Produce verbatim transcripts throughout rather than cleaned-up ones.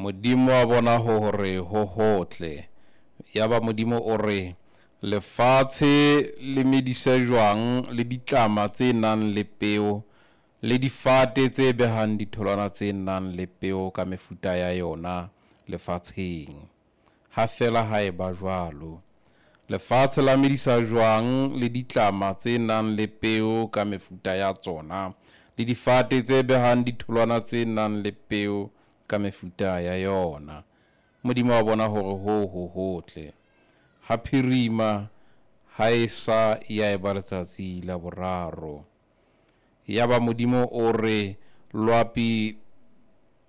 Modimo a bona hore ho hotle. Yaba Modimo o re, lefatshe le medise jwang le ditlama tse nang le peo, le difate tse behang ditholwana tse nang le peo ka mefuta ya yona lefatsheng. Ha fela ha eba jwalo. Lefatshe la medisa jwang le ditlama tse nang le peo ka mefuta ya tsona, le difate tse behang ditholwana tse nang le peo ka mefuta ya yona. Modimo a bona hore hoo ho hotle. Ha phirima, ha esa ya eba letsatsi la boraro. Yaba Modimo o re, loapi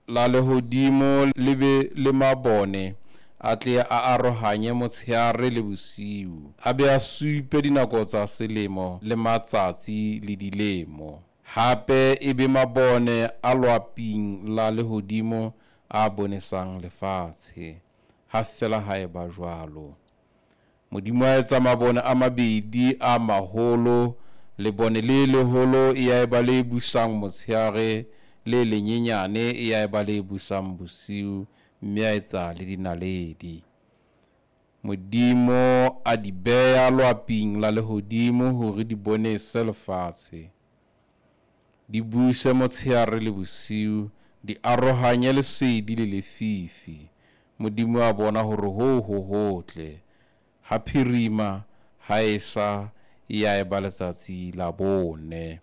la lehodimo le be le mabone a tle a arohanye motsheare le bosiu, a be a supe dinako tsa selemo le matsatsi le dilemo. Hape e be mabone a loaping la lehodimo a bonesang lefatshe. Ha fela ha eba jwalo. Modimo a etsa mabone a mabedi a maholo, lebone le leholo ya eba le busang motsheare, le lenyenyane ya eba le busang bosiu, mme a etsa le dinaledi. Modimo a di beha loaping la lehodimo hore di bonese lefatshe, di buse motsheare le bosiu, di arohanye lesedi le lefifi. Modimo a bona hore hoo ho hotle. Ha phirima, ha esa, ya eba letsatsi la bone.